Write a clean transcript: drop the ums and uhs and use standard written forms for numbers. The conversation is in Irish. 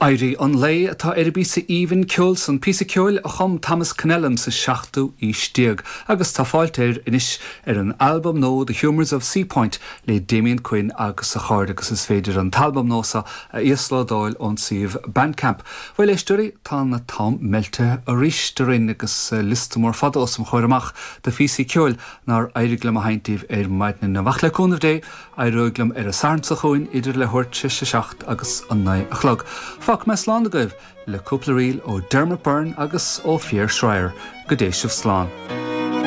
Éirí an Lae atá ar an bpíosa aoibhinn ceoil san, píosa ceoil a chum Thomas Connellan sa seachtú aois déag agus tá fáilt air anois ar an albam nua The Humours of Seapoint le Damien Quinn agus a chairde agus is féidir an t-albam nua seo a íoslódáil ón suíomh Bandcamp. Bhuel, éisteoirí, tá an t-am meilte arís orainn agus liosta mór fada os mo chomhair amach de phíosaí ceoil nár éirigh liom a sheinnt daoibh ar maidin inniu. Ach le cúnamh Dé, Éireoidh liom ar an Satharn seo chugainn idir leathuair tar éis a 7 agus 9 a chlog. Fágfaidh mé slán agaibh le cúpla ríl ó Dermot Byrne agus ó Pierre Schreier. Go dté sibh slán.